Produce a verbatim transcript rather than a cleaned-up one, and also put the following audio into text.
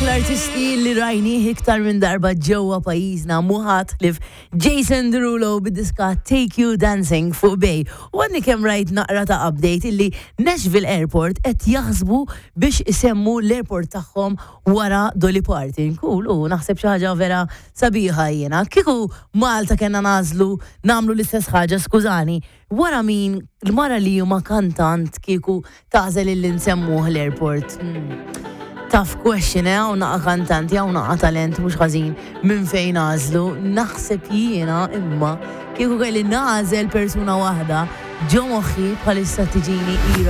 L-artisti li rajnih iktar minn darba ġewwa pajjiżna mhu ħadd ħlief Jason Derulo bid-diska Take You Dancing fuq Bay. U għadni kemm rajt naqra ta' update illi Nashville Airport qed jaħsbu biex isemmu l-airport tagħhom wara Dolly Parton. Cool, u naħseb xi ħaġa vera sabiħa jiena. Kieku Malta kellna nagħżlu nagħmlu l-istess ħaġa, skużani, wara min l-mara li huma kantant kieku tagħżel illi nsemmuh l-airport. Hmm. Tough question, eh, hawn naqa kantanti, hawn naqa talent, mhux ħażin minn fejn nagħżlu. Naħseb jiena imma kieku kelli nagħżel persuna waħda ġo moħħi bħalissa tiġini Ira.